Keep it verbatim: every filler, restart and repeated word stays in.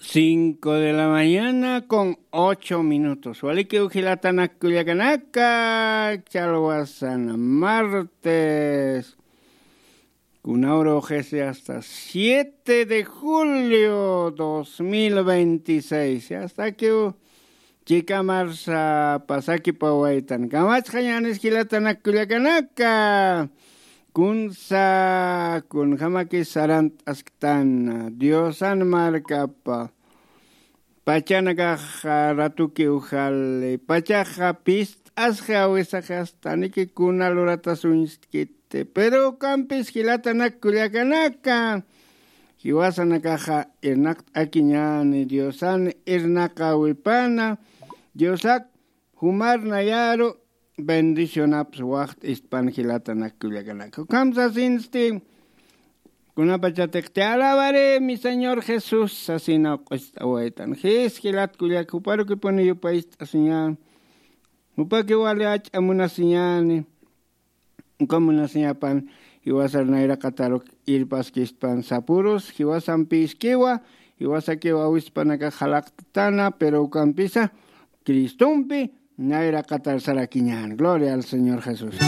Cinco de la mañana con ocho minutos. Walikiw jilatanak kullakanaka, chalwasan martes. Kunawra ujisi hasta siete de julio dos mil veintiséis. Hasta que chikamarsa pasakipawaytan. Kamachxañanis jilatanak kullakanaka. Kunsa, kunjamaki sarant'asktana. Diosan markapa. Pachanakaxa ratukiw jali. Pachaxa pist'asxi awisaxi astaniki kuna luratas uñstkiti. Pero ukampis jilatanak kullakanaka. Jiwasanakaxa irnaqt'akiñani Diosan irnaqawipana. Diosak jumarnayaru bendicionaps waxt'istpan jilatanak kullakanaka. Ukham sasinsti, kunapachatiqti alabaré mi Señor Jesús sasina q'ust'awaytan. Jis jilat kullak juparukipuni yupayist'asiñan. Jupaki wali ach'a munasiñani. Uka munasiñapan jiwasar nayraqataruk irpaskispan sapurus, jiwasampiskiwa, jiwasakiw awispanaka jalaqtana, pero ukampisa Cristompi nayraqatar sarakiñan. Gloria al Señor Jesús.